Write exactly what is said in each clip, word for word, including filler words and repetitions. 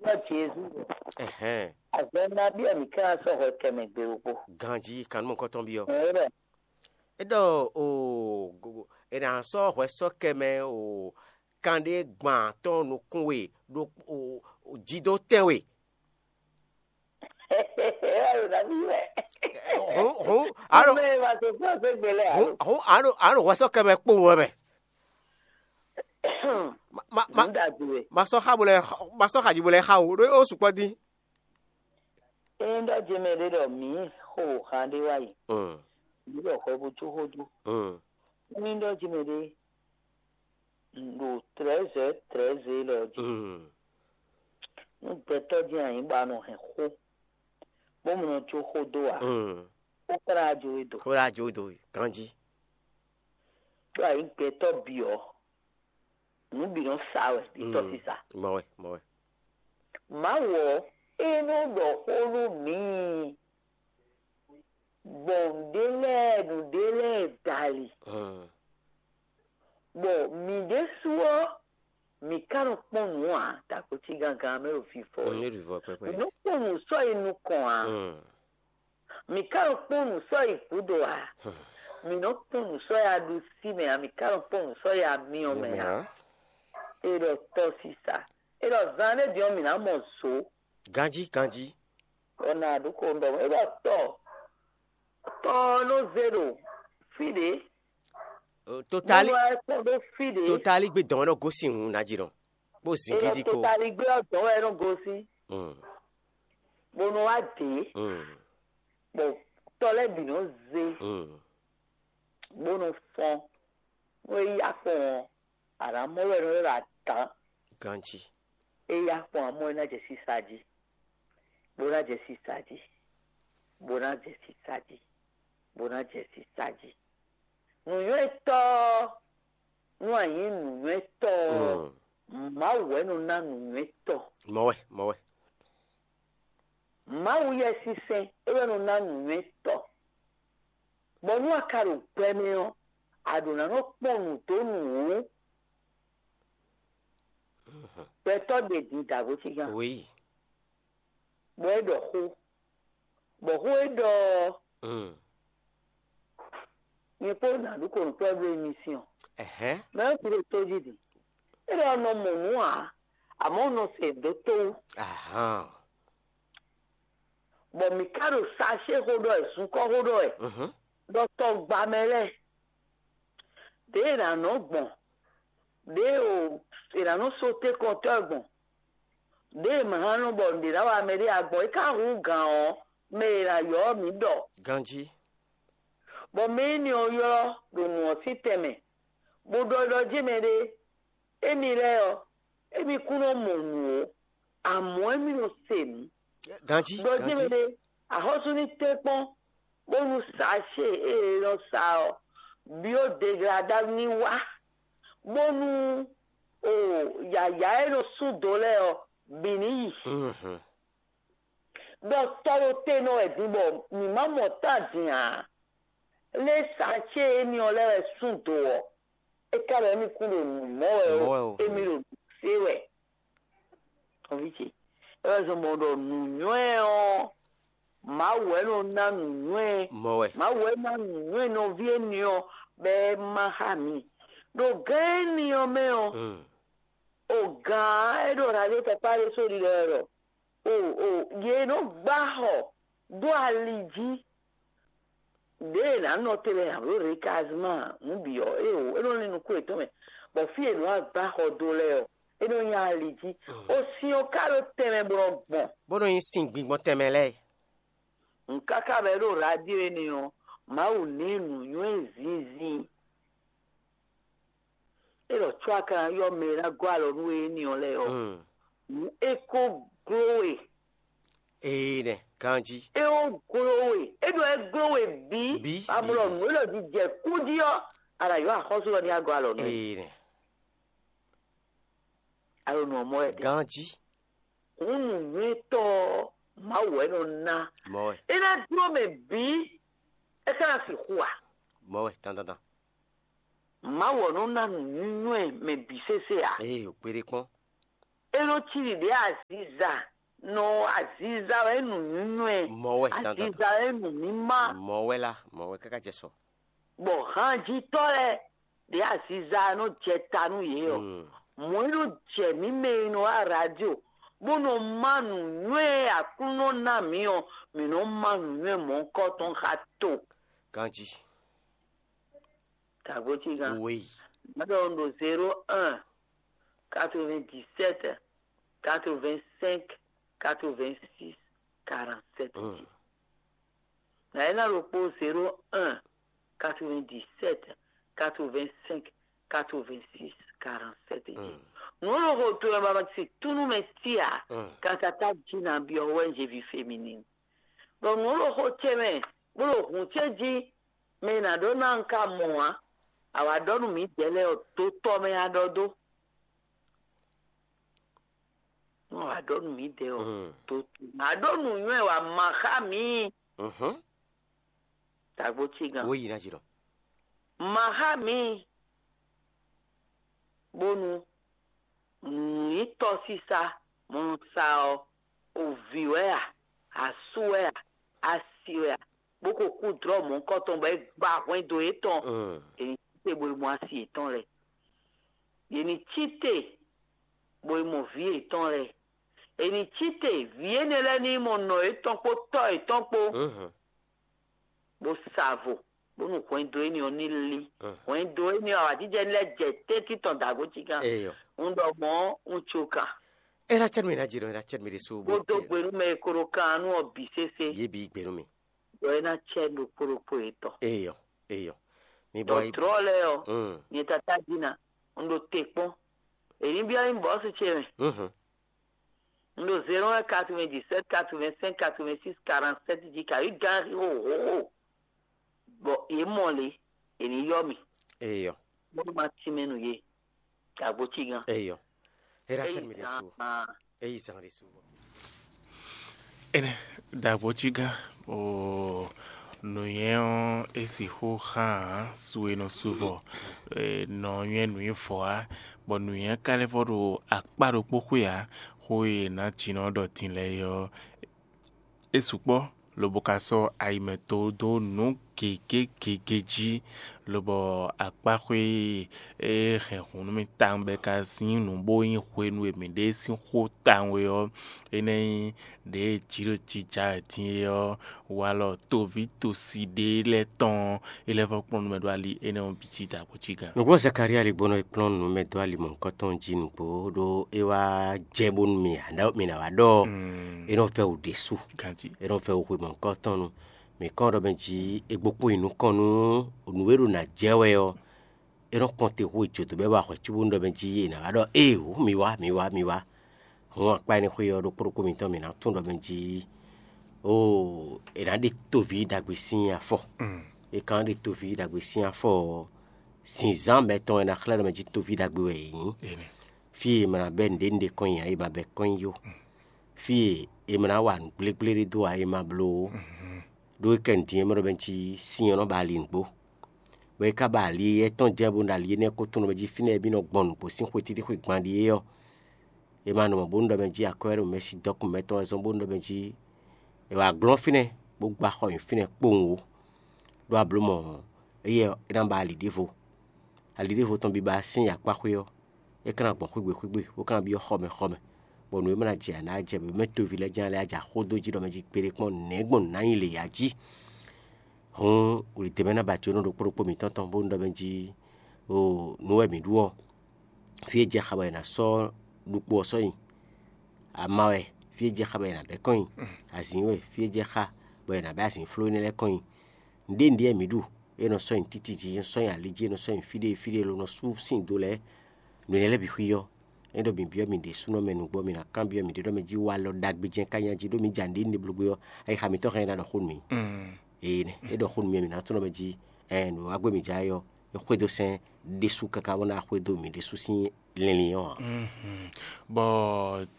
Ɖɔ Jezu ɖɔ, Ɛhɛn. Azɔn nabí wɛ mǐ ka ná sɔ́ hwɛ kɛ mɛ gbe ɖokpó? Ganjí kanúmɔkɔ́tɔn byɔ́. Ɛ ɖɔ É ɖɔ o, go- go- è nǎ sɔ́ hwɛ sɔ́ kɛ mɛ o, kanɖé gban tɔn nukún we ɖo o, o, jidó tɛn we. Ɛ ɖo nabí wɛ? Hɔn hɔn a ɖo Mɛ ma tó fún ɔsɛ gbélé alo? Hɔn a ɖo a ɖo hwɛ sɔ́ kɛ mɛ kpowun wɛ mɛ. Ma ma ma Nǔ ɖagbe wɛ. Ma sɔ́ xa bo lɛ ma sɔ́ xa ji bo lɛ xa o ɖó ó sukpɔ́ dín. Ényí ɖɔ jɛmɛ ɖé ɖɔ mǐ xo han ɖé wá yi, Mm, mǐ ɖɔ hwɛ bó jó xó dó. Mm. Ényí ɖɔ jɛmɛ ɖé ɖo trɛ́zɛ trɛ́zɛ élɔ́ jí, Mm. Nú gbɛtɔ́ dín anyǐ bɔ a nɔ hɛn xó, bó mu nɔ jó xó dó ǎ, Mm. Xó ka ná jó we do. Xó ɖá jó do ganjí. Ɖó ayǐ gbɛtɔ́ bǐ ɔ́, nǔ bǐ nɔ sa wɛ ɖi tɔ́sisa. Mɔ wɛ, mɔ wɛ. Mawu ɔ́, é nɔ ɖɔ xó nú mǐ, gbɔn nǔɖé lɛ́ɛ nǔɖé lɛ́ɛ dali, Mm. Bɔ mǐ ɖésú ɔ́, mǐ ka nɔ kpɔ́n nǔ ǎ, dagbo cí gangan mɛ ɖo vivɔ N é. Ɖu vɔ pɛpɛ. Mǐ nɔ kpɔ́n nǔ sɔ́ yi nukɔn ǎ. Mm. Mǐ ka nɔ kpɔ́n nǔ sɔ́ yi gǔdo ǎ. Mǐ nɔ kpɔ́n nǔ sɔ́ yi aɖusí mɛ ǎ, mǐ ka nɔ kpɔ́n nǔ sɔ́ yi amyɔ mɛ Mɛ ǎ. Ǎ. É ɖɔ tɔ́sisa. É ɖɔ zan ɖé din ɔ́, mǐ ná mɔ zǒ. Ganjí, ganjí. Ɔ́ ná ɖó ko ɖɔ é ɖɔ tɔ tɔ ɔ́ nɔ zé ɖo fí ɖě. Totali Mɔnɔ ɛ kpɔ́n ɖó fí ɖě. Totali gbé dɔn ɔ́ nɔ gosín hǔn ná jí nɔ. Bó zin Ényɔ gidi kpo. Totali gbé ɔ́ dɔn wɛ é nɔ gosín, Mm, bó nɔ wá dě, mm, bɔ tɔ lɛ́ɛ bǐ nɔ zé, mm. Bó nɔ fɔ́n. Nú é yá fɔ́n ɔ́, a nǎ mɔ wɛ nɔ ylɔ́ ɖɔ adǎn. Ganjí. É yá fɔ́n amɔ́ é ná jɛ sísá jí, bó ná jɛ sísá jí, bó ná jɛ sísá jí, bó ná jɛ sísá jí. Nǔnywɛ́tɔ́, nú a nyǐ nǔnywɛ́tɔ́ ɔ́, Mm. Mawu wɛ nɔ ná nǔnywɛ́tɔ́. Mɔ wɛ, mɔ wɛ. Mawu Yɛsinsɛn é wɛ nɔ ná nǔnywɛ́tɔ́. Bɔ nú a ka ɖo gbɛ mɛ ɔ́, a ɖǒ ná nɔ kpɔ́n nǔ dó nǔ wú. Gbɛtɔ́ ɖe din dǎgbó cígán, Oui. Bɔ é ɖɔ xó, bɔ xó e ɖɔ ɔ́, Mm. Nyɛ kpó nǎ ɖu kɔnukplɔ́ ɖó émission. Ɛhɛn. Mɛ ɔ́ ti ɖo tójí din. É ɖɔ nɔ mɔ nǔ ǎ, amɔ̌ nɔ se dó tó wú. Ahán. Bɔ mǐ ka ɖo sacé xó ɖɔ wɛ, zunkɔ́ xó ɖɔ wɛ, Mhm. Ɖɔ tɔgba mɛ lɛ́ɛ, ɖěe è nǎ nɔ gbɔn, ɖěe è nǎ nɔ sóté kɔntɔ́ gbɔn, ɖěe è ma hán nɔ bɔ nǔɖé ná wa mɛ ɖé ǎ gbɔn, é ka hú gǎn ɔ́, mɛ e è nǎ ylɔ́ ɔ́ mǐ ɖɔ. Ganjí. Bɔ mɛ énɛ́ ɔ́ ylɔ́ ɖo nǔ ɔ́ sín tɛnmɛ, bó ɖɔ ɖɔ jɛ́n mɛ ɖé, émi lɛ́ɛ ɔ́, émi kún nɔ mɔ nǔ ó, amɔ̌ émi nɔ se nǔ. Ganjí, Ɖɔ jɛ́n mɛ ganjí. Ɖé, axɔ́sú ní tɛ́nkpɔ́n, bónú sacé e è nɔ sa ɔ́, biodegladá ní wá, bónú o yǎyá e nɔ sú do lɛ́ɛ ɔ́, bǐ ní yi. Mhm. Ɖɔ tɔ ɖo te nɔ wɛ din bɔ mǐ ma mɔ tán din ǎ. Lě sacé énɛ́ ɔ́ lɛ́ɛ wɛ sú do ɔ́, é ka ɖɔ émí kún ɖo nǔ mɔ wɛ Mɔ wɛ ó, o. Émí ɖo nǔ se wɛ. Nɔví ce, é wɛ zɔn bɔ ɖɔ nǔnywɛ́ ɔ́, Mawu wɛ nɔ ná nǔnywɛ́. Mɔ wɛ. Mawu wɛ ná nǔnywɛ́ nɔví énɛ́ ɔ́, bɔ é má xá mǐ. Ɖo gǎn énɛ́ ɔ́ mɛ ɔ́, Mm. O gǎn e ɖo radio tɔkpá ɖé só ɖiɖɔ wɛ ɖɔ o o yě nɔ gbá xɔ dó ali jí. Ɖěe è nǎ nɔ te lɛ́ɛ ǎ, bló recasement nǔ bǐ ɔ́, é o é nɔ lin nukún yětɔn mɛ, bɔ fí e è nɔ wá gbá xɔ dó lɛ́ɛ ɔ́, é nɔ nyí ali jí. O sin ɔ́ ka ɖo tɛnmɛ bɔ nɔ gbɔn. Bó nɔ nyí sin gbingbɔn tɛnmɛ lɛ́ɛ. Nǔ káká bɔ é ɖo radio énɛ́ ɔ́, Mawu ná ɛ nǔnywɛ́ zinzin. É ɖɔ có a ka ná ylɔ́ mɛ e ná gɔ́ alɔ nú we énɛ́ ɔ́ lɛ́ɛ ɔ́, Mm. Nǔ é ko gló we. Ee nɛ, ganjí. É ko gló we. É ɖɔ é gló we bǐ. Bǐ, Amlɔ bǐ, bǐ. Nǔ e ɖɔ jijɛ kú jí ɔ́, a nǎ ylɔ́ axɔ́sú ɔ́ ní agɔ́ alɔ nú we. Ee nɛ. Alo nǔ ɔ́ mɔ wɛ ɖe. Ganjí. Hǔn nǔnywɛ́tɔ́ ɔ́, Mawu wɛ nɔ ná. Mɔ wɛ. É ná dló mɛ bǐ, é ka ná sixú a? Mɔ wɛ, dandandan. Mawu ɔ́ nɔ ná nǔnywɛ́ mɛ bǐ sésé ǎ. Ee, o kpéɖé kpɔ́n. É nɔ cí ɖiɖě aziza, nɔ aziza wɛ nǔnywɛ́, mɔ wɛ dandan, aziza wɛ nǔmímá. Mɔ wɛ lá, mɔ wɛ káká jɛ sɔ. Bɔ hanjitɔ́ lɛ́ɛ ɖě aziza nɔ jɛ ta nú yě ɔ́, mɔ̌ e nɔ jɛ mǐ mɛ e nɔ wá radio bó nɔ má nǔnywɛ́ e Aklúnɔ ná mǐ ɔ́, mǐ nɔ má nǔnywɛ́ mɔ̌hunkɔtɔn xá to. Ganjí. Tagbo cígan. Oui. Má ɖɔ un ɖo zéro un, quatre-vingt-dix-sept, quatre-vingt-cinq, quatre-vingt-six, quarante-sept. Mm. Nǎ é ná ɖokpó zéro un, quatre-vingt-dix-sept, quatre-vingt-cinq, quatre-vingt-six, quarante-sept jí. Mm. Nǔ e ɖo xo towe mɛ ma si túnú mɛ tí ǎ, mm, katatá jí ná byɔ́ wɛ un jí ví féminine. Bɔ nǔ e ɖo xo ce mɛ, bó ɖo hǔn ce jí, mɛ e nǎ ɖɔ ná un ka mɔ ǎ. A wǎ ɖɔ nú mǐdɛɛ lɛ́ɛ ɔ́, dotɔ mɛ a ɖɔ dó. Nú a wǎ ɖɔ nú mǐdɛɛ ɔ́, mm, dotɔ mɛ a ɖɔ nǔnywɛ́ wǎ ma xá mǐ. Mhm. Tagbo cígan. Wo yi ná jí ɖɔ. Ma xá mǐ, bónú nǔnyítɔ́ sísá mɔ sa ɔ́, o vǐ wɛ a, asú wɛ a, asi wɛ a, bó ko kú dlɔ̌ mɔ̌hunkɔtɔn bɔ é gba hwɛndo yětɔn, mm, è nǐ cí te bo yi mɔ asi yětɔn lɛ́ɛ. Yě ní cí te bo yi mɔ vǐ yětɔn lɛ́ɛ. È nǐ cí te vǐ énɛ́ lɛ́ɛ ní yi mɔ nɔ yětɔn kpó tɔ́ yětɔn kpó, mhm, bó sa vo, bónú hwɛndo énɛ́ ɔ́ ní lí. Mm. Hwɛndo énɛ́ ɔ́, awǎjijɛ ní lɛ́ jɛ tɛ́ntin tɔn dǎgbo cíkan. Eyɔ. Un ɖɔ mɔ̌, un co kan. É ná cɛ́ nú mì ná jǐ ɖɔ é ná cɛ́ nú mì ɖésú bó Bó dó gbe nú mɛ e ko ɖo kan nú ɔ́ bǐ sésé. Yě bǐ gbe nú mì. Ɖɔ é ná cɛ́ ɖokpó ɖokpó yětɔn. Eyɔ, eyɔ. Mi bɔ Dɔ̌trɔ́ lɛ́ɛ ɔ́, mm, nyɛ tatá jí ná, un ɖo te kpɔ́n. È ní byɔ́ nyí bɔ̌su ce mɛ. Mhm. Un ɖo zéro un quatre-vingt-dix-sept quatre-vingt-cinq quatre-vingt-six quarante-sept jí kayi gán xixo hǒxo. Bɔ yě mɔ lě, è ní yɔ mì. Eyɔ. Bónú ma tínmɛ nú yě. Dǎgbo cígan. Eyɔ. É ná cɛ́ nú mì ɖésú. Eyí zán ɖésú. Énɛ́ dǎgbo cígan. Oo, nǔnywɛ́ ɔ́, é sixú xán su e nɔ su vɔ, e, nɔ nywɛ́ nǔnywɛ́ vɔ á, bɔ nǔnywɛ́ ka lɛ́ vɔ ɖo akpá ɖokpó xwé ǎ. Xó e è nǎ jǐnɔ ɖɔ din lɛ́ɛ é ɔ́, é sukpɔ́, lobo ka sɔ́ ayi mɛ to dó nǔ gěgé gěgé jí, lobɔ akpáxwé e hɛn hǔn nú mì tawun bɔ é ka zín nǔ bó nyí hwenu e mǐ ɖe sín xó tawun é ɔ́, é ná nyí ɖěe jǐ ɖo jija wɛ din é ɔ́, walɔ toví tosi ɖé lɛ́ɛ tɔn é lɛ́ vɔ́ kplɔ́n nú mɛ ɖó ali énɛ́ ɔ́ bǐ jí dǎgbo cí gán. Nǔgbó Zakalía ligbónɔ e kplɔ́n nǔ mɛ dó ali mɔ̌hunkɔtɔn jí nǔgbó, ɖó é wá jɛ bónú mì ǎ, mì ná wá ɖɔ é nɔ vɛ́ wǔ ɖésú. Ganjí. É nɔ vɛ́ wǔ xwe mɔ̌hunkɔtɔn nu. Mǐ kɔn ɖɔ mɛ jí è gbokpó nyi nukɔn nú nǔ e ɖo nǎ jɛ wɛ ɔ́, é nɔ kpɔn te xó e jǒdó bɔ é wa hwɛ̌ cóbónú ɖɔ mɛ jí è nǎ wá ɖɔ éeǒ, mi wá, mi wá, mi wá. Hǔn akpá énɛ́ xwé ɔ́ ɖokpó ɖokpó mitɔn mǐ ná tunwun ɖɔ mɛ jí oo è nǎ ɖe tóví ɖagbe sín afɔ. Mm. È ka nɔ ɖe tóví ɖagbe sín afɔ ɔ́, zǐnzán mɛtɔn e ná xlɛ́ ɖɔ mɛ jí tóví ɖagbe wɛ è nyǐ. Énɛ́. Fí e è ma ná bɛ́ nǔɖénúɖé kɔn nyi ǎ, è ma bɛ́ kɔn nyi ó. Mm. Fí e è ma ná wa nǔ gblégblé ɖé dó ǎ, è ma bló ó. Mhm. Ɖó é kɛ nǔ din e mɔ ɖɔ mɛ jí sin ɔ́ nɔ ba ali nǔgbó. Bɔ é ka ba ali étɔn jɛ́n bónú ɖo ali énɛ́ ko tunwun ɖɔ mɛ jí fínɛ́ e mì nɔ gbɔn nǔgbó sín xwe títí xwe gban ɖíe ɔ́, è ma nɔ mɔ bónú ɖɔ mɛ jí akwɛ́ ɖo mɛsí dɔkun mɛtɔn wɛ zɔ́n bónú ɖɔ mɛ jí è wǎ glɔ́n fínɛ́ bó gba xɔ nyi fínɛ́ kpowun ó. Ɖó a blǒ mɔ éyɛ́ ɔ́, é ná ba ali ɖěvo. Ali ɖěvo tɔn biba sín akpá xwé ɔ́, é ka ná gbɔn xwígbe xwígbe, bó ka ná byɔ́ xɔmɛ xɔmɛ, bɔ nǔ e ma ná jɛ ǎ ná jɛ, bɔ mɛ toví lɛ́ɛ jɛ́n lɛ́ɛ á jɛ xó dó jí ɖɔ mɛ jí kpeɖé kpɔ́n nɛ̌ gbɔn nǔ ná nyi lě ya jí. Hǔn wlǐdɛ́mɛ ná ba jǒnɔ ɖokpó ɖokpó mǐtɔn tɔn bónú ɖɔ mɛ jí, oo, nǔ wɛ mǐ ɖu ɔ́, fí e jɛ xa bɔ è nǎ sɔ́ ɖokpó ɔ́ sɔ́ nyi. Ama wɛ, fí e jɛ xa bɔ è nǎ bɛ́ kɔn nyi. Azǐn wɛ, fí e jɛ xa bɔ è nǎ bɛ́ azǐnfló énɛ́ lɛ́ɛ kɔn nyi. Nǔɖé nǔɖé wɛ mǐ ɖu, é nɔ sɔ́ nyi títí jí, é nɔ sɔ́ nyi ali jí, é nɔ sɔ́ nyi fí ɖé fí ɖé lo nɔ sú sin do lɛ́ɛ. Nǔ énɛ́ lɛ́ɛ bǐ xwí ɔ́, é ɖɔ mǐ byɔ́ mǐ ɖésúnɔ mɛ nǔgbó, mǐ ná kanbyɔ́ mǐɖée ɖɔ mɛ jí walɔ ɖagbe jɛ́n ka nyí a jí, ɖó mǐ ja nǔɖé nǔɖé bló gbé ɔ́, ayixa mǐtɔn hɛn ná ɖɔ xó nú mǐ. Ee, é ɖɔ xó nú mì, mǐ ná tunɔ mɛ jí, ɛn, nǔ wa gbé mǐ ja é ɔ́, é xwedó sɛn ɖésú káká bó ná xwedó mǐ ɖésú sín linlin ɔ́ ǎ. Bɔ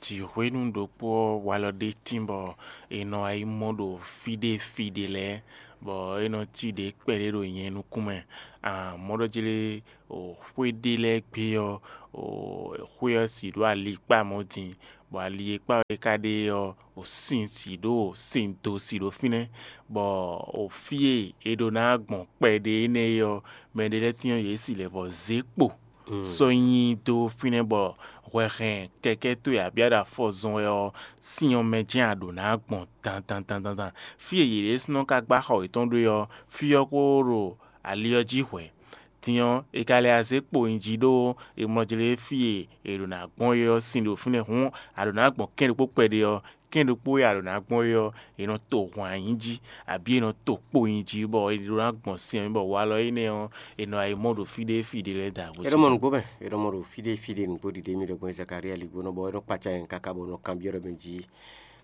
jǐxwénu ɖokpó ɔ́ walɔ ɖé tín bɔ è nɔ yi mɔ ɖo fí ɖé fí ɖé lɛ́ɛ, bɔ é nɔ cí ɖě kpɛɖé ɖo nyɛ nukún mɛ. Mɔ̌ ɖɔ jlé xwé ɖé lɛ́ɛ gbé ɔ́, xwé ɔ́ si ɖó ali kpá mɔ̌ din, bɔ ali e kpá wɛ é ka ɖe ɔ́, sin si ɖó sin do si ɖo fínɛ́, bɔ fí e è ɖǒ ná gbɔn kpɛɖé énɛ́ é ɔ́, mɛɖé lɛ́ɛ tínnyɔ́ yě si lɛ̌ vɔ zě kpo sɔ́ nyi dó fínɛ́ bɔ hwɛ hɛn kɛkɛ́ towe abǐ aɖafɔ zɔn wɛ ɔ́, sin ɔ́ mɛ jɛ́n a ɖǒ ná gbɔn dandandandandan. Fí e yě ɖésúnɔ ka gbá xɔ yětɔn ɖó é ɔ́, fí ɔ́ kó ɖo ali ɔ́ jí hwɛ̌. Din ɔ́, è ka lɛ azé kpo nyi jí ɖó è mlɔ jlé fí e è ɖǒ ná gbɔn é ɔ́ sín ɖo fínɛ́ hǔn, a ɖǒ ná gbɔn kɛ́n ɖokpó kpɛɖé ɔ́, kɛ́n ɖokpó e a ɖǒ ná gbɔn é ɔ́, è nɔ to hwan nyi jí, abǐ è nɔ to kpo nyi jí, bɔ è ɖǒ ná gbɔn sin ɔ́ mɛ, bɔ walɔ énɛ́ ɔ́, è nɔ yi mɔ ɖo fí ɖé fí ɖé lɛ́ɛ da. É ɖɔ mɔ nǔgbó mɛ, é ɖɔ mɔ ɖo fí ɖé fí ɖé nǔgbó ɖiɖe mì ɖɔ gbɔn Zakalía ligbónɔ, bɔ é nɔ kpacá nyɛ káká bɔ nɔ kanbyɔ́ ɖɔ mɛ jí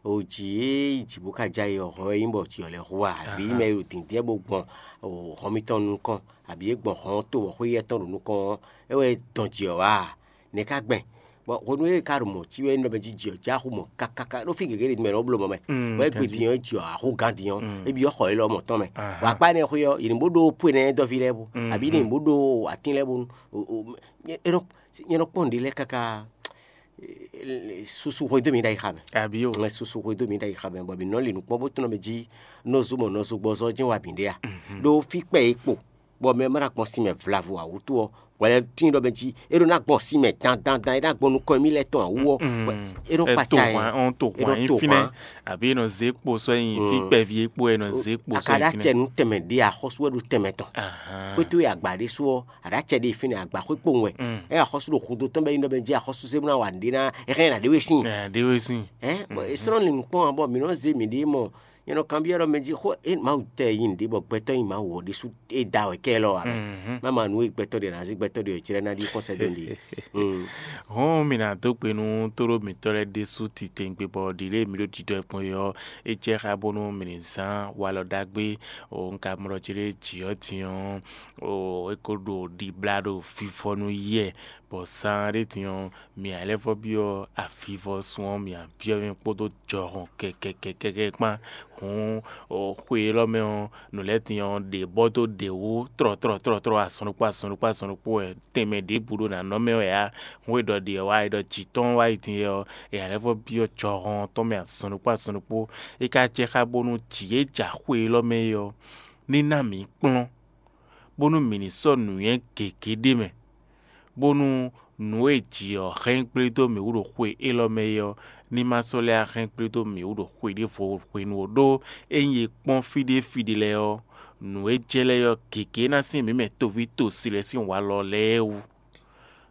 o jǐ e yi jǐ bó ka já yi ɔ́, hɔ é nyí bɔ jǐ ɔ́ lɛ́ hu a, abǐ mɛ e ɖo dǐndín bó gbɔn hɔn mitɔn nukɔn, abǐ é gbɔn hɔn to bɔ xwé yɛ́ tɔn ɖo nukɔn ɔ́, é wɛ dɔn jǐ ɔ́ wá a? Nɛ̌ ka gbɛn? Bɔ hwenu e é ka ɖo mɔ̌ cí wɛ é nɔ mɛ jí jǐ ɔ́ já xú mɔ kákáká, ɖó fí gěgé ɖé mɛ nɔ bló mɔ mɛ, bɔ é gbe din ɔ́ é jǐ ɔ́ axú gán din ɔ́, é byɔ́ xɔ élɔ́ mɔ tɔn mɛ. Bɔ akpá énɛ́ xwé ɔ́, yě ní bó ɖó pwe nɛ́ dɔ́ví lɛ́ɛ bú, abǐ ní bó ɖó atín lɛ́ɛ bónú. É nɔ nyɛ nɔ kpɔ́n nǔɖé lɛ́ɛ káká susu hwedó mi ɖ'ayǐ xa mɛ. Abǐ o. Susu hwedó mi ɖ'ayǐ xa mɛ, bɔ mǐ nɔ li nǔ kpɔ́n bó tunɔ mɛ jí nɔzo mɔ nɔzo gbɔzɔ jɛ́n wa mǐ ɖe a? Ɖó fí kpɛ e kpo, bɔ mɛ ma ná gbɔn sin mɛ vlavo ǎ wútu ɔ́, hwɛ lɛ́ɛ tín ɖɔ mɛ jí é ɖó ná gbɔn sin mɛ dandandan, é ná gbɔn nukɔn mì lɛ́ɛ tɔn ǎ wú ɔ́, é nɔ kpaca ɛ. Ɔn to hwan yín fínɛ́, àbí é nɔ zé kpo sɔ́ nyi fí kpɛví é kpo é nɔ zé kpo sɔ́ nyi fínɛ́. Akaɖacɛ nú tɛmɛ ɖé axɔ́sú wɛ ɖo tɛmɛ tɔn. Xwétó e agba ɖé sú ɔ́, aɖacɛ ɖé fínɛ́ agba xwé kpowun wɛ. É axɔ́sú ɖo xudó tɔn bɛ nyí ɖɔ mɛ jí axɔ́sú zé bó ná wa nǔɖé ná, é hɛn ná ɖé we sín. Ɖé we sín. Ɛ bɔ é sɔ́ nɔ lin nǔkpɔ́n ǎ, bɔ mǐ nɔ zé mǐɖée mɔ nyɛ nɔ kanbyɔ́ ɖɔ mɛ jí xó é Mawu tɛ yí nǔɖé bɔ gbɛtɔ́ nyi Mawu ɔ́ ɖésú é da wɛ kɛ lɔ ǎ. Má ma nǔ e gbɛtɔ́ ɖe ná zé gbɛtɔ́ ɖe ɔ́ jlɛ́ ná ɖi xɔ́sɛ́ dó ɖe. Hɔn mǐ ná dó gbe nú tóɖó mǐtɔn lɛ́ɛ ɖésú titewungbe bɔ ɖi lě e mǐ ɖo ɖiɖɔ gbɔn é ɔ́, é jɛ xá bónú mǐ ní zán walɔ ɖagbe. Un ka mlɔ jí ɖé jǐ ɔ́ din ɔ́, é ko ɖo ɖibla ɖo vivɔ nú yɛ, bɔ zán ɖé din ɔ́, mǐ ǎ lɛ́ vɔ́ byɔ́ avivɔsun ɔ́, mǐ ǎ byɔ́ mɛ kpódó jɔhɔn kɛkɛkɛkɛkɛ kpán. Hǔn xwe élɔ́ mɛ ɔ́, nǔ lɛ́ɛ din ɔ́, ɖě bɔ dó ɖě wú trɔtrɔtrɔtrɔ, azɔn ɖokpó azɔn ɖokpó azɔn ɖokpó wɛ, tɛnmɛ ɖěbǔ ɖo nǎ nɔ mɛ wɛ ǎ. Hǔn e ɖɔ ɖě ɔ́ wá, e ɖɔ jǐ tɔn wá yi din yɛ ɔ́, è ǎ lɛ́ vɔ́ byɔ́ jɔhɔn tɔn mɛ azɔn ɖokpó azɔn ɖokpó. É ka jɛ xá bónú jǐ e ja xwe élɔ́ mɛ é ɔ́, ní ná mǐ kplɔ́n, bónú mǐ ní sɔ́ nǔnywɛ́ gěgé ɖ'é mɛ, bónú nǔ e jǐ ɔ́ hɛn gblé dó mǐ wú ɖo xwe élɔ́ mɛ é ɔ́, ní ma sɔ́ lɛ́ hɛn gblé dó mǐ wú ɖo xwe ɖěvo hwenu ó. Ɖó ényí è kpɔ́n fí ɖé fí ɖé lɛ́ɛ ɔ́, nǔ e jɛ lɛ́ɛ ɔ́ gěgé ná sín mǐ mɛ toví tosi lɛ́ɛ sín walɔ lɛ́ɛ wú.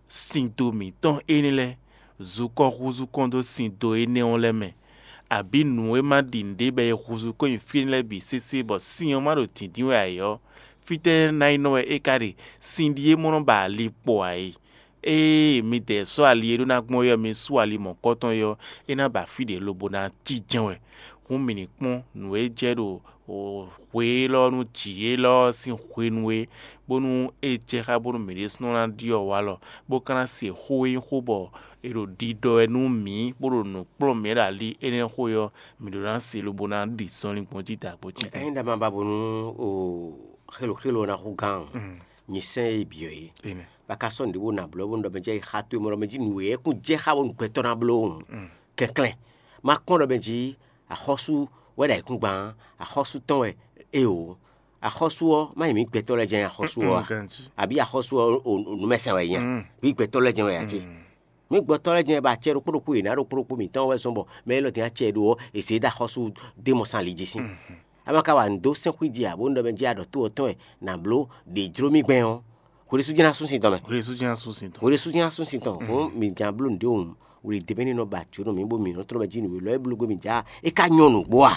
Sin do mǐtɔn énɛ́ lɛ́ɛ, zukɔ́ húzú kɔn dó sin do énɛ́ ɔ́ lɛ́ɛ mɛ, abǐ nǔ e ma ɖi nǔɖé bɔ è húzú kɔn nyi fí énɛ́ lɛ́ɛ bǐ sésé bɔ sin ɔ́ ma ɖo dǐndín wɛ ǎ é ɔ́, fítɛ́ ná yi nɔ wɛ é ka ɖe? Sin ɖíe mɔ nɔ ba ali kpo ǎ é. Ée midɛɛ sɔ́ ali e ɖó ná gbɔn é ɔ́, mi sú ali mɔ̌kɔtɔn é ɔ́, é ná ba fí ɖě lobo ná cí jɛ́n wɛ. Hǔn mǐ ní kpɔ́n nǔ e jɛ ɖo hwe élɔ́ nú jǐ élɔ́ ɔ́ sín hwenu é, bónú é jɛ xá bónú mǐ ɖésúnɔ ná ɖyɔ́ walɔ, bó ka ná se xó e nyí xó bɔ è ɖo ɖiɖɔ wɛ nú mǐ, bó ɖo nǔ kplɔ́n mǐ ɖo ali énɛ́ xó é ɔ́, mǐ ɖó ná se lobo ná ɖi zɔnlin gbɔn jí dǎgbó jí. Ényí ɖa ma ba bónú o xélo xélo ná xú gán nyi sɛ́n e byɔ̌ é. Ba ka sɔ́ nǔɖé bó ná blɔ́ bónú ɖɔ mɛ jɛ yi xa towe mɔ ɖɔ mɛ jí nǔ e kún jɛ xá bónú gbɛtɔ́ ná bló hǔn. Kɛnklɛ́n ma kpɔ́n ɖɔ mɛ jí axɔ́sú wɛ ɖo ayǐkúngban, axɔ́sú tɔn wɛ é o. Axɔ́sú ɔ́ má nyí mǐ gbɛtɔ́ lɛ́ɛ jɛ́n axɔ́sú ɔ́ a? Àbí axɔ́sú ɔ́ nǔmɛsɛn wɛ nyí a? Mǐ gbɛtɔ́ lɛ́ɛ jɛ́n wɛ a cé? Mǐ gbɛtɔ́ lɛ́ɛ jɛ́n wɛ ba acɛ ɖokpó ɖokpó yě ná ɖokpó ɖokpó mǐtɔn wɛ zɔ́n bɔ mɛ élɔ́ din acɛ ɖó ɔ́, è zě dó axɔ́sú dé mɔ sín ali jí sín. A ma ka wa nǔ dó sɛ́nxwí jí ǎ, bónú ɖɔ mɛ jí aɖɔ̌ to ɔ́ tɔn wɛ nǎ bló ɖě jló mì gbɛn ɔ́, hweɖésú jɛ́n ná sú sin tɔn mɛ. Hweɖésú jɛ́n ná sú sin tɔn. Hweɖésú jɛ́n ná sú sin tɔn. Hǔn mǐ ján bló nǔɖé hǔn, wlǐdé mɛ ní nɔ ba jǒnɔ mǐ bó mǐ nɔ tlɔ́ mɛ jí nǔ e lɔ é bló gbé mǐ já é ka nyɔ́ nǔgbó a?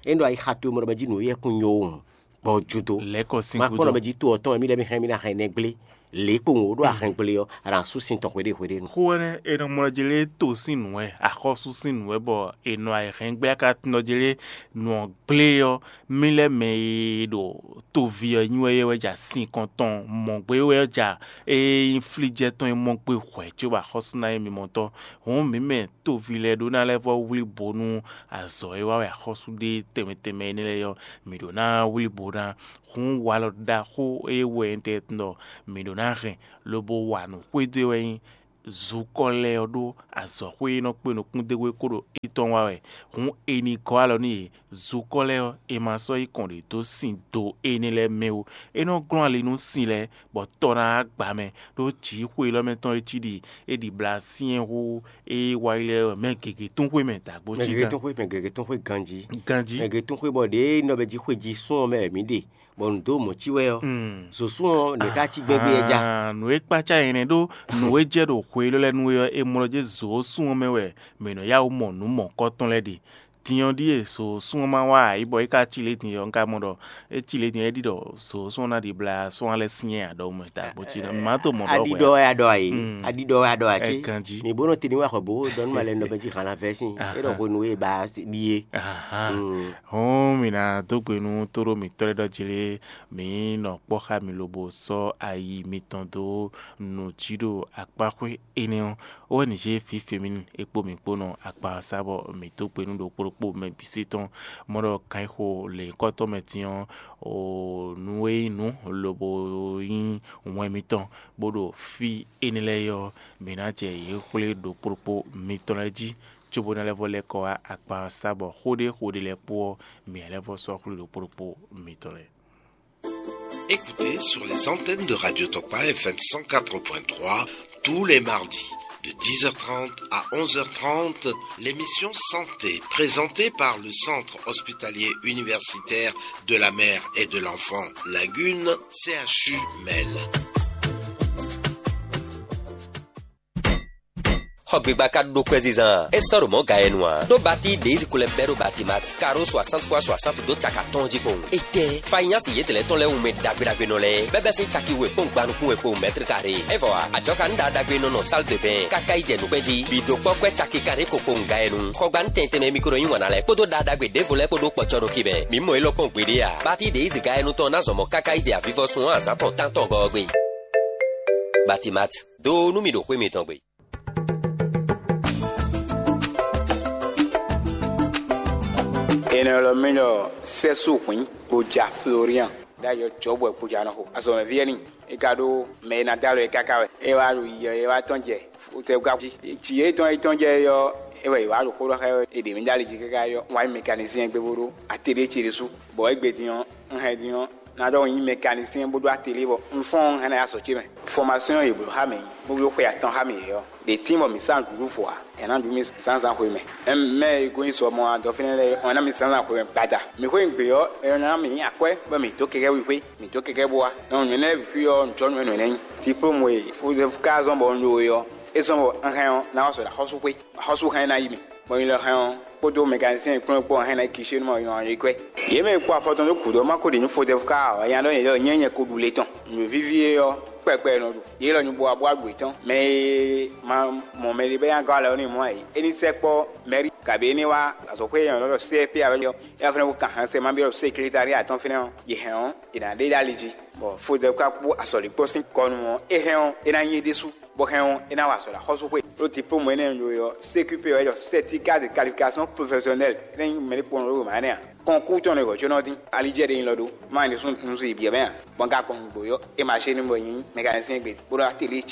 Ényí ɖɔ ayixa towe mɔ ɖɔ mɛ jí nǔ éyɛ́ kún nyɔ́ ó hǔn, gbɔ jú dó. Lɛ̌kɔ sín Ma kpɔ́n gúdo. Ɖɔ mɛ jí to ɔ́ tɔn wɛ mí lɛ́ mí hɛn mí ná hɛn nɛ́ gblé. Lě kpowun wǒ ɖo ahɛngble ɔ́, a nǎ sú sin tɔn hweɖé hweɖénu. Xó énɛ́ è nɔ mlɔ́ jlé to sín nǔ wɛ, axɔ́sú sín nǔ wɛ, bɔ è nɔ ayǐhɛ́ngbɛ́ ká tɔ́n jlé nǔ ɔ́ gblé ɔ́, mì lɛ́ mɛ e ɖo toví ɔ́ nyi wɛ é wɛ ja sin kɔn tɔn mɔ̌ gbé wɛ ɔ́ ja, ée nyí flíjɛ tɔn e mɔ gbé hwɛ̌ cóbɔ axɔ́sú ná nyí mimɔtɔ́. Hǔn mǐ mɛ toví lɛ́ɛ ɖó ná lɛ́ vɔ́ wlí bo nú azɔ̌ e wa wɛ axɔ́sú ɖe tɛnmɛ tɛnmɛ énɛ́ lɛ́ɛ ɔ́, mǐ ɖó ná wlí bo ná. Hǔn walɔ ɖaxó e wɛ nyí tɛ́ ɖɔ mǐ ɖó ná hɛn lobo wa nǔ xwedó e wɛ nyí zukɔ lɛ́ɛ ɔ́ ɖó azɔ̌xwé e nɔ kpé nukúndéwé kó ɖo étɔn wa wɛ. Hǔn è nǐ gɔ́ alɔ nú yě. Zukɔ lɛ́ɛ ɔ́, è ma sɔ́ yí kɔn ɖě dó sin do énɛ́ lɛ́ɛ mɛ ó. É nɔ glɔ́n ali nú sin lɛ́ɛ, bɔ tɔ ná wá gba mɛ, ɖó jǐxwé élɔ́ mɛ tɔn e cí ɖi é ɖi blá syɛ́n hú é wá yi lɛ́ɛ wɛ mɛ gěgé tún xwé mɛ dǎgbó Mɛ cí gěgé gán. Tún xwé, mɛ gěgé tún xwé ganjí. Ganjí. Mɛ gěgé tún xwé bɔ ɖěe nɔ bɛ jí xwe jí sún ɔ́ mɛ wɛ mǐ ɖe, bɔ nǔ dó mɔ̌ cí wɛ ɔ́. Mm. Zǒsún ɔ́, nɛ̌ ká cí gbɛ́gbɛ́ é já? Ahan, nǔ e kpácá nyɛ nɛ́ ɖó nǔ e jɛ ɖo hwe élɔ́ lɛ́ɛ nu é ɔ́, è mlɔ jɛ zǒsún ɔ́ mɛ wɛ mǐ nɔ yá wǔ mɔ nǔ mɔ̌kɔtɔn lɛ́ɛ ɖe. Din ɔ́ ɖíe zǒsún ɔ́ ma wá ǎ, yi bɔ é ka cí lě din ɔ́, un ka mɔ ɖɔ é cí lě din ɔ́, é ɖi ɖɔ zǒsún ɔ́ ná ɖi blá sɔ́ lɛ́ syɛ́n ǎ ɖɔhun mɛ ta bó cí ná. Má to mɔ ɖɔ Aɖiɖɔ wɛ a ɖɔ a yě. Mm. Aɖiɖɔ wɛ a ɖɔ a Ɛ cé? Ganjí. Mǐ bó nɔ te ní wa xɔ bó ɖɔ nú malɛ nɔ bɛ jí hǎn ná vɛ́ sín. É ɖɔ hwenu e ba ɖíe. Ahan. Mm. Hɔn mǐ ná dó gbe nú tóɖó mǐtɔn lɛ́ɛ ɖɔ jlé mǐ nɔ kpɔ́ xá mi lobo sɔ́ ayi mitɔn dó nǔ jí ɖo akpáxwé énɛ́ ɔ́. Ó wɛ nǐ zé fǐfěmí e kpó mǐ kpó nɔ akpa ɔ́ sá bɔ mǐ dó gbe nú ɖokpó ɖokpó mɛ bǐ sí tɔn. Mɔ ɖɔ kan e xo lě nyǐkɔtɔn mɛ din ɔ́, o nǔ e nyí nǔ lobo nyí wɛn mitɔn, bó ɖo fí énɛ́ lɛ́ɛ ɔ́, mǐ ná jɛ yě xwlé ɖokpó ɖokpó mitɔn lɛ́ɛ jí, cóbó ná lɛ́ vɔ lɛ́ kɔ wá akpa ɔ́ sá bɔ xó ɖé xó ɖé lɛ́ɛ kpó ɔ́, mǐ ná lɛ́ vɔ sɔ́ xwlé ɖokpó ɖokpó mitɔn lɛ́ɛ. Écoutez sur les antennes de Radio Tokpa F M cent quatre point trois tous les mardis de dix heures trente à onze heures trente l'émission Santé présentée par le Centre hospitalier universitaire de la mère et de l'enfant Lagune, C H U Mel. Xɔ gbigba ka ɖó kwɛzizan a? É sɔ́ ɖo mɔ̌ ga e nu ǎ. Ɖó batí ɖě yi ko lɛ́ bɛ́ ɖó Batimat, karo soixante fois soixante ɖó caka tɔn jí kpowun. Étɛ́, fanyási yědɛ́lɛ́ tɔn lɛ́ɛ wunmɛ ɖagbe ɖagbe nɔ lɛ́ɛ, bɛ́bɛ́ sín caki we kpɔ́n gbanukún we kpowun mɛtri kare. É vɔ ǎ, ajɔkanúɖaɖagbe nɔ nɔ sál de bɛn káká yi jɛ nǔgbɛ́ jí. Bǐ dó kpɔ́ kwɛ́ caki kanɖé ko kpowun ga e nu. Xɔgbanu tɛntɛnmɛ mi ko nɔ yí wǎn ná lɛ́ɛ kpódó ɖaɖagbe ɖěvo lɛ́ɛ kpó ɖó kpɔcɔ́ ɖo kí mɛ. Mǐ mɔ élɔ́ kpɔ́n gbeɖé ǎ. Batí ɖě yi ziga e nu tɔn ná zɔn mɔ̌ káká yi jɛ avivɔsun ɔ́ azǎn tɔn tántɔn gɔ́ ɔ́ gbe. Batimat, dó nú mì ɖo xwé mitɔn gbe. È nɔ ylɔ́ mì ɖɔ Sɛ́sú Hwǐn Gboja Florian, ɖ'ayǐ ɔ́ Jɔ̌bwɛ Gboja nɔ xo azɔ̌mɛví wɛ n'i. É ka ɖó mɛ e ná dó alɔ é káká wɛ. É wá ɖo yiyi ɔ́, é wá tɔ́n jɛ fotɛ́wúká jí. Jǐ e tɔn e tɔ́n jɛ é ɔ́, é wɔ è wǎ ɖo xó ɖɔ xá ɛ wɛ. È ɖě mì ɖó ali jí káká ɔ́, wǎ nyi mɛkanisíɛn gbe bó ɖó atelier ce ɖésú. Bɔ égbé din ɔ́, un hɛn din ɔ́, ná ɖɔ un nyí mɛkanisíɛn bó ɖó atelier bɔ un fɔ́n ɔ́, un hɛn ná yi azɔ̌ ce mɛ. Fɔmasyɔn e yě bló xá mǐ, bó bló xwe atɔn xá mǐ é ɔ́, ɖě tín bɔ mǐ sán nǔɖuɖu fɔ ǎ. È nǎ ɖu mì zǎnzǎn xwe mɛ. Mɛ e gosín sɔ mɔ adɔ fínɛ́ lɛ́ɛ ɔ́, è nǎ mì zǎnzǎn xwe mɛ gbada. Mǐ xwé nǔgbé ɔ́, è nɔ ná mǐ nyi akwɛ́ bɔ mǐ dó kɛkɛ́ wíxwé, mǐ dó kɛkɛ́ bó wá. Nɔ nyɔ̌nu lɛ́ɛ bǐ xwí ɔ́, un jɔ́ nǔ e nǔ énɛ́ nyí. Diplôme e Fodɛfu ka zɔ́n bɔ un ɖó é ɔ́, é zɔ́n bɔ un hɛn ɔ́, ná wá sɔ ɖo axɔ́súxwé. Axɔ́sú hɛn ná yi mì. Bɔ nyi lɔ hɛn ɔ́, kpódó mɛkanisíɛn kplɔ́n kpó hɛn ná yi kishe nú mɔ nɔ yí kwɛ́. Yě mɛ e kpó afɔ tɔn dó gǔdo ɔ́ ma ko ɖi nǔ Fodɛfu ká ǎ, nya ɖɔ nyɛ ɖɔ nyɛ nyɛ ko ɖu le tɔn. Nǔ víví é ɔ́, kpɛkpɛ nɔ ɖu. Yě lɔ nyi bo wá bó wá ɖu yětɔn. Mɛ e ma mɔ mɛɖé bɔ é ná gɔ́ alɔ n'i mɔ̌ ǎ é, é ní sɛkpɔ́ mɛ̌ri, kabǐ é ní wá azɔ̌xwé e nyɔ̌nu ɖɔ C F P ǎ wɛ ɔ́, é wá fɛ́nɛ wó kan hɛn sɛ má byɔ́ seklétariat tɔn fínɛ́ ɔ́, yě hɛn ɔ́, è nǎ ɖe ɖó ali jí. Bɔ Fodɛfu ka kpó azɔ̌líkpɔ́ sín kɔ nu ɔ́, é hɛn ɔ́, é ná nyí é ɖésú, bɔ hɛn ɔ́, é ná wa azɔ̌ ɖo axɔ́súxwé. Ɖó diplôme énɛ́ e un ɖó é ɔ́, C Q P wɛ é ɖɔ certificat de qualification professionnelle, é ná nyí mɛ ɖé kpɔ́n ɖó mǎ nɛ́ ǎ. Kɔnkú tɔn nɔ e hwɛ̌cónɔ dín, ali jɛ ɖe nyi lɔ ɖó, má nyí ɖésú un zun yi byɔ̌ mɛ ǎ. Bɔ un ka gbɔn nǔgbó ɔ́, é ma ṣe nú bɔ nyí mécanicien gbe, bó ɖó atelier ce.